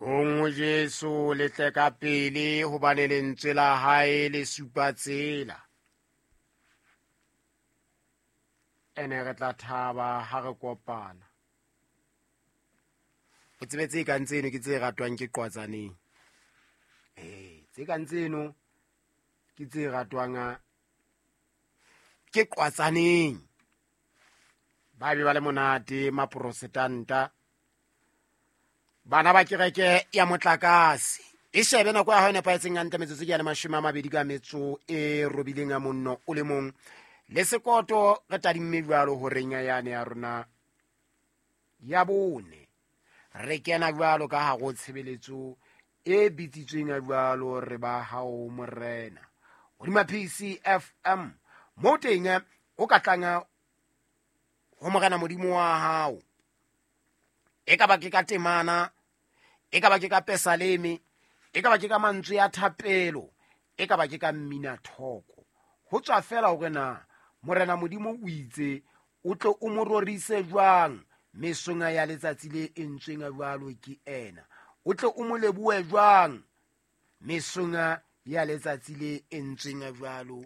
Tlong ho Jesu le tle ka pele, hobane lentswe la hae le supa tsela. Ene re tla thaba ha re kopana. O tsebe tse kang tseno ke tse ratwang ke qwatsaneng. Ee, tse kang tseno ke tse ratwang ke qwatsaneng. Ba be ba le monate maprostanta. Bana ba kereke ya motlakase. E shebe nako ya hao e nepahetseng hantle, metsotso ke ya le 28 ka metso e robileng ya monno o le mong. Le sekoto re tadimme jwalo horeng ya yane ya rona ya bone. Re kena jwalo ka hare ho tshebeletso e bitsitsweng ya jwalo re ba hao morena. Hodima PCFM mo teng o ka tlang ho morena modimo wa hao. E ka ba ke ka temana, e ka ba ke ka pesaleme, e ka ba ke ka mantswe ya thapelo, e ka ba ke ka mmina thoko. Ho tswa fela hore na morena modimo o itse o tle o mo rorise jwang mesong ya letsatsi le entsweng jwalo ke ena. O tle o mo lebohe jwang mesong ya letsatsi le entsweng jwalo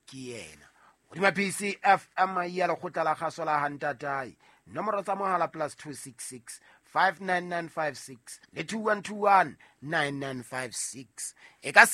ke yena. Hodima PCFM ya lekgotla la kgaso la Hantatae. Nomoro tsa mohala +266 59956 le 2121 9956. E ka